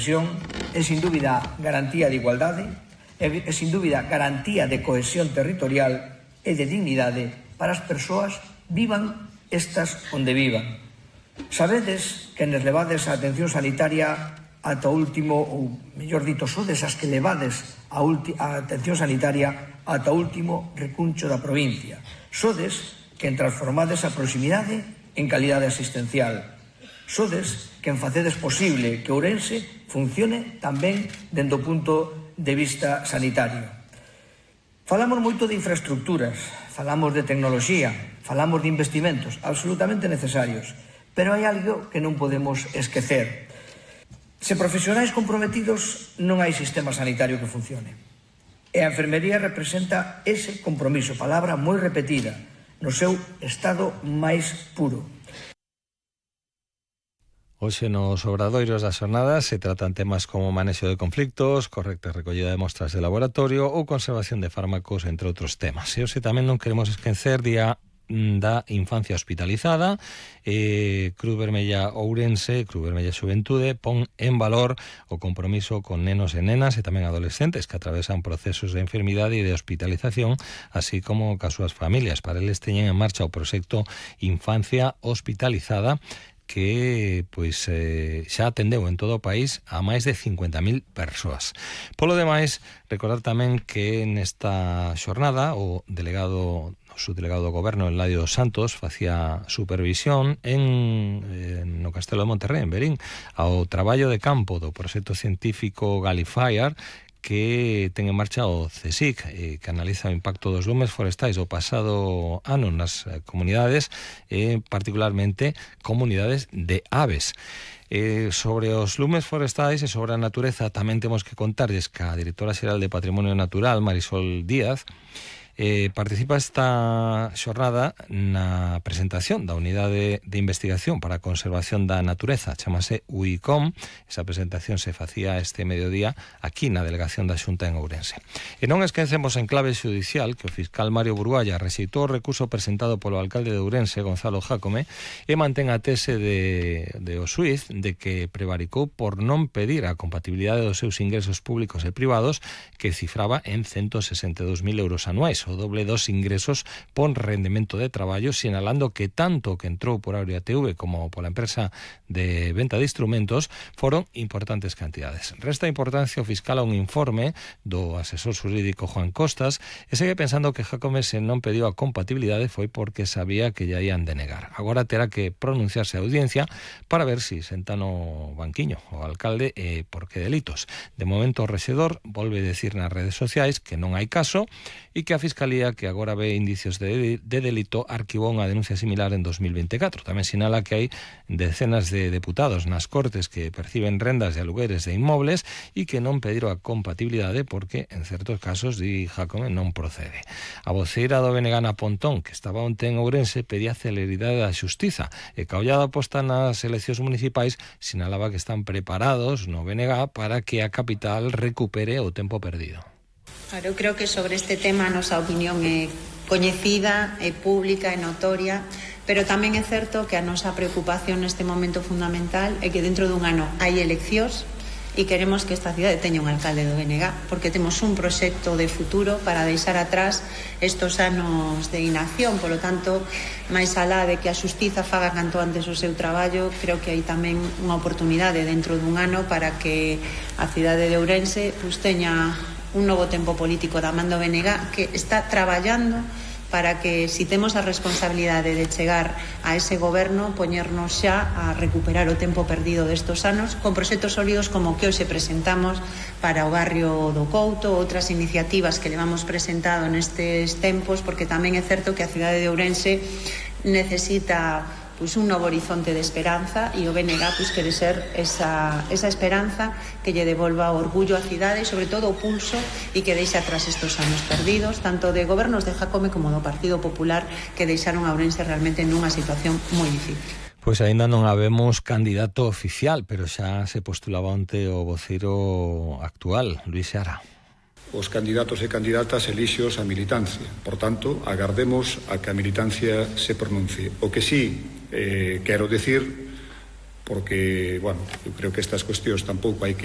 profesión é, sin dúbida, garantía de igualdade, é, sin dúbida, garantía de cohesión territorial e de dignidade para as persoas vivan estas onde vivan. Sabedes que nos levades a atención sanitaria ata o último, ou mellor dito, sodes as que levades a atención sanitaria ata o último recuncho da provincia. Sodes quen transformades a proximidade en calidade asistencial. Sodes quen facedes posible que Ourense funcione tamén dende o punto de vista sanitario. Falamos moito de infraestructuras, falamos de tecnoloxía, falamos de investimentos absolutamente necesarios, pero hai algo que non podemos esquecer. Se profesionais comprometidos, non hai sistema sanitario que funcione. E a enfermería representa ese compromiso, palabra moi repetida, no seu estado máis puro. Hoxe nos obradoiros das xornadas se tratan temas como manexo de conflictos, correcta recollida de mostras de laboratorio ou conservación de fármacos, entre outros temas. E hoxe tamén non queremos esquecer Día da Infancia Hospitalizada. Cruz Vermella Ourense, Cruz Vermella Xuventude, pon en valor o compromiso con nenos e nenas e tamén adolescentes que atravesan procesos de enfermidade e de hospitalización, así como cas súas familias. Para eles teñen en marcha o proxecto Infancia Hospitalizada, que xa atendeu en todo o país a máis de 50.000 persoas. Polo demais, recordar tamén que nesta xornada o subdelegado do Goberno, Eladio dos Santos, facía supervisión no Castelo de Monterrey, en Verín, ao traballo de campo do proxecto científico Galifier, que ten en marcha o CSIC, que analiza o impacto dos lumes forestais do pasado ano nas comunidades, particularmente comunidades de aves. Sobre os lumes forestais e sobre a natureza tamén temos que contarlles que a directora xeral de Patrimonio Natural, Marisol Díaz, participa esta xornada na presentación da Unidade de Investigación para a Conservación da Natureza, chamase UICOM. Esa presentación se facía este mediodía aquí na Delegación da Xunta en Ourense. E non esquecemos en clave xudicial que o fiscal Mario Burualla rexeitou o recurso presentado polo alcalde de Ourense, Gonzalo Jácome, e mantén a tese de o xuiz de que prevaricou por non pedir a compatibilidade dos seus ingresos públicos e privados, que cifraba en 162.000 euros anuais, o doble dos ingresos por rendemento de traballo, sinalando que tanto que entrou por Aurea TV como pola empresa de venta de instrumentos foron importantes cantidades. Resta importancia o fiscal a un informe do asesor xurídico Juan Costas e segue pensando que Jácome, se non pediu a compatibilidade, foi porque sabía que lle ian denegar. Agora terá que pronunciarse a audiencia para ver si senta no banquiño o alcalde e por que delitos. De momento o rexedor volve decir nas redes sociais que non hai caso e que a Fiscalía, que agora ve indicios de delito, arquivou unha denuncia similar en 2024. Tamén sinala que hai decenas de deputados nas Cortes que perciben rendas de alugueres de inmobles e que non pediron a compatibilidade porque, en certos casos, di Jácome, non procede. A voceira do BNG, Ana Pontón, que estaba onte en Ourense, pedía celeridade da xustiza e que a ollada posta nas eleccións municipais sinalaba que están preparados no BNG para que a capital recupere o tempo perdido. Claro, eu creo que sobre este tema a nosa opinión é coñecida, é pública, é notoria, pero tamén é certo que a nosa preocupación neste momento fundamental é que dentro dun ano hai eleccións e queremos que esta cidade teña un alcalde do BNG, porque temos un proxecto de futuro para deixar atrás estos anos de inacción. Por lo tanto, máis alá de que a xustiza faga canto antes o seu traballo, creo que hai tamén unha oportunidade dentro dun ano para que a cidade de Ourense teña un novo tempo político da man do BNG que está traballando para que, si temos a responsabilidade de chegar a ese goberno, poñernos xa a recuperar o tempo perdido destos anos con proxectos sólidos como que hoxe presentamos para o barrio do Couto, outras iniciativas que levamos presentado nestes tempos, porque tamén é certo que a cidade de Ourense necesita un novo horizonte de esperanza e o BNG quere ser esa esperanza que lle devolva o orgullo á cidade e sobre todo o pulso e que deixe atrás estos anos perdidos, tanto de gobernos de Jácome como do Partido Popular, que deixaron a Ourense realmente nunha situación moi difícil. Pois aínda non habemos candidato oficial, pero xa se postulaba onte o voceiro actual, Luís Seara. Os candidatos e candidatas elixos a militancia. Por tanto, agardemos a que a militancia se pronuncie. O que sí quero decir, porque, eu creo que estas cuestións tampouco hai que